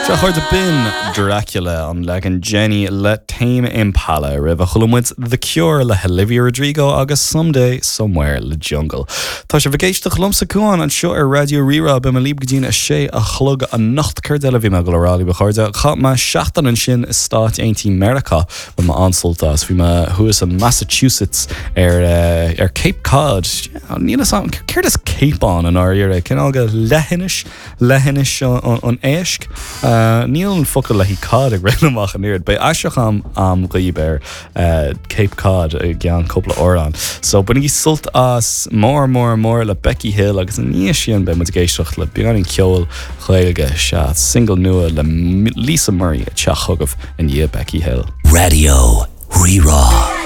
Sea, a chairde, b'in Dracula, an leagan Jenny le Tame Impala. Roimhe chuala muid The Cure le hOlivia Rodrigo agus Someday Somewhere le Jungle. Tá sibh ag éisteacht liomsa Cuán anseo ar Raidió Rí-Rá. Beidh mé libh go dtí'n 6 a chlog anocht. Céard eile a bhí mé ag dul a rá libh a chairde? Chaith mé seachtain ansin i Stáit Aontaithe Meiriceá. Bhain mé an-sult as. Bhí mé thuas i Massachusetts ar ar Cape Cod. Níl fhios a'm céard is Cape ann i ndáiríre? Cineál de leithinis? Leithinis an éisc? Níl an focal le haghaidh cod ag rith amach an oiread. Beidh aistriúchán a'm dhaoib ar Cape Cod i gceann cúpla amhrán. So bainigí sult as More More More le Becky Hill agus ina dhiaidh sin beidh muid ag éisteacht le beagáinín ceoil Ghaeilge. Sea, single nua le Lisa Murray ag teacht chugaibh i ndiaidh Becky Hill. Raidió Rí-Rá.